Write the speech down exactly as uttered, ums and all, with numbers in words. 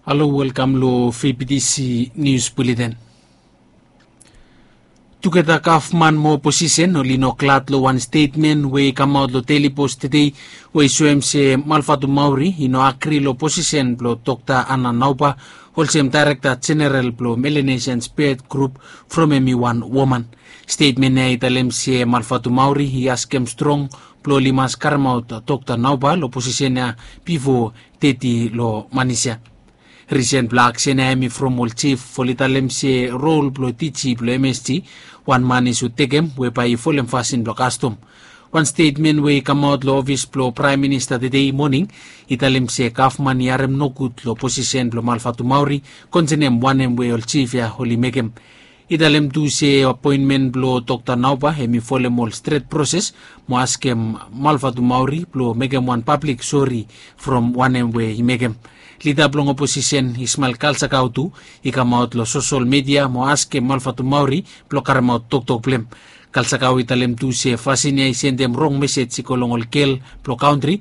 Halo, welkam long fbtc nius buleten. Tugeta gavman mo oposisen oli no glad long wan stetmen we i kamaot long Daily Post tede, we i soem se Malvatumauri i no agri long posisen blong Dokta Ana Nauba olsem daerekta jeneral blong Melanesian Spirit Grup, from hem i wan woman. Stetmen ya i talem se Malvatumauri i askem strong blong oli mas karemaot Dokta Nauba long posisen ya bifo teti long manis ya. Risen blong aksen ya hem i from ol jif oli talem se rol blong tiji blong msg, wan man i sud tekem we bae i folem fasin blong kastom. Wan stetmen we i kamaot long ofis blong praem minista tede moning i talem se gavman i harem nogud long posisen blong Malvatumauri konsenem wanem we ol jif ya oli mekem. I talem tu se apoenmen blong Dokta Nauba hem i folem ol stret proses mo askem Malvatumauri blong mekem wan pablik sori from wanem we i mekem. Lida blong oposisen Ismael Kalsakau tu i kamaot long sosol midia mo askem Malvatumauri blong karemaot toktok blong hem. Kalsakau i talem tu se fasin ya i sendem rong mesej i go long ol gel blong kantri